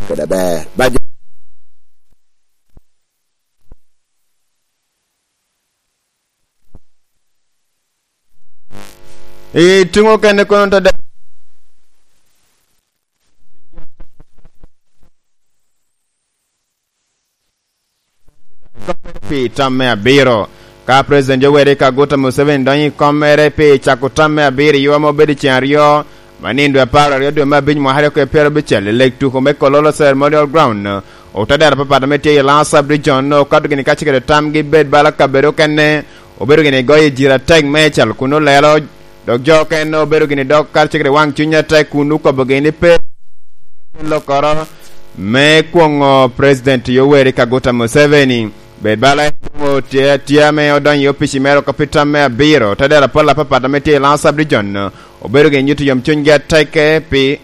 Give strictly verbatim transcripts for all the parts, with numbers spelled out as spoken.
kede aber. Ba jo- I tuŋ okene kono to de- pi tam me abiro. Ka President Yoweri Kaguta Museveni donyo i kommere pi cako tam me abiro i ywa ma obedo i ceng aryo, ma nino dwe apar aryo dwe me abic mwaka aryo kede pyerabicel, i leg tuko me Kololo Ceremonial Ground, otadero apapat ame tye i Lango Sub Region okato gini kacel kede tamgi bed bala kabedo okene, obedo gini goyo i jira atek meicel kun olelo, dok jo okene obedo gini dok kacel kede waŋ cuny atek kun okobo gini pe lokkoro me kwoŋo President Yoweri Kaguta Museveni. Bed bala en doŋ otye atye ame odonyo i opici mere oko pi tam me abiro, te dero apol apapat ame tye i Lango Sub Region, obedo gin nyuto yom cunygi atek pi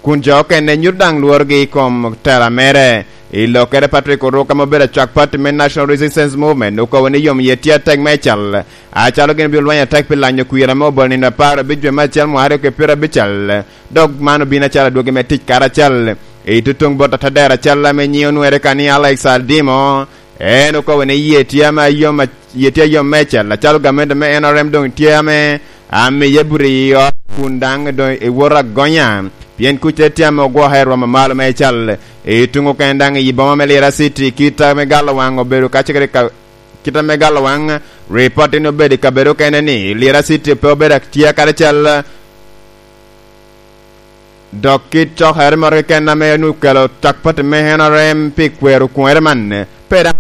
kun jo okene nyuto daŋ lworogi i kom tela mere. I lokkere Patrick Oruk ame obedo acwak pati me National Resistance Movement okobo ni yom yie tye atek meicel, acalo gin obino lweny atek pi lanyo kwir ame obolo nino apar abic dwe me acel mwaka aryo kede pyerabicel, dok man obino acalo adwogi me tic karacel. I tutuŋ bot atadero acel ame nyiŋe onwere ka ni Alex Aldimo, en okobo ni yie tye ame ayom, yie tye ayom meicel, acalo gamente me N R M doŋ tye ame amiye bute i ot kun daŋ doŋ ewot agonya, pien kuc tye tye ame ogwoke i rwom amalo meicel. I tuŋ okene daŋ i boma me Lira City, kit ame galo waŋ obedo kacel kede ka, kit ame galo waŋ, ripot ni obedo i kabedo okene ni Lira City pe obedo atye karacel. Dok kit cokere moro keken ame onwoŋo okelo cak pati me N R M pi kwero kwoŋere man, pe daŋ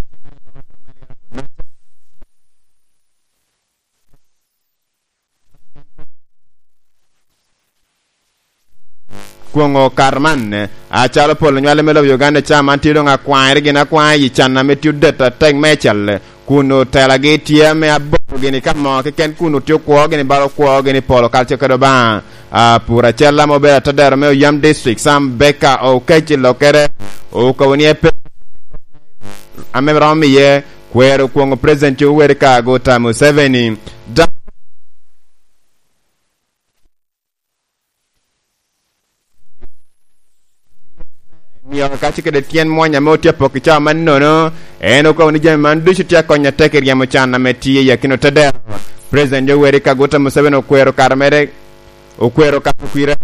kwoŋo okato man, acalo pol onywale me lobo Uganda ca man tye doŋ akwaŋere gin akwaŋ i can ame tye odet atek meicel, kun otelagi tye ame aboto gini ka mo keken kun otye okwo gini bala okwo gini polo kalce kede Obaŋa. Ah, pur acel ame obedo atadero me Oyam District, Sam Baker Okec i lokkere, okobo ni epe ame romo iye kwero kwoŋo President Yoweri Kaguta Museveni. Da- Mio kaco kede tyen mwony ame otye apok i cawa mannono, en okobo ni jami man ducu tye akony atek i ryemo can ame tye i akino tedero. President Yoweri Kaguta Museveni okwero kare mere, okwero kato kwira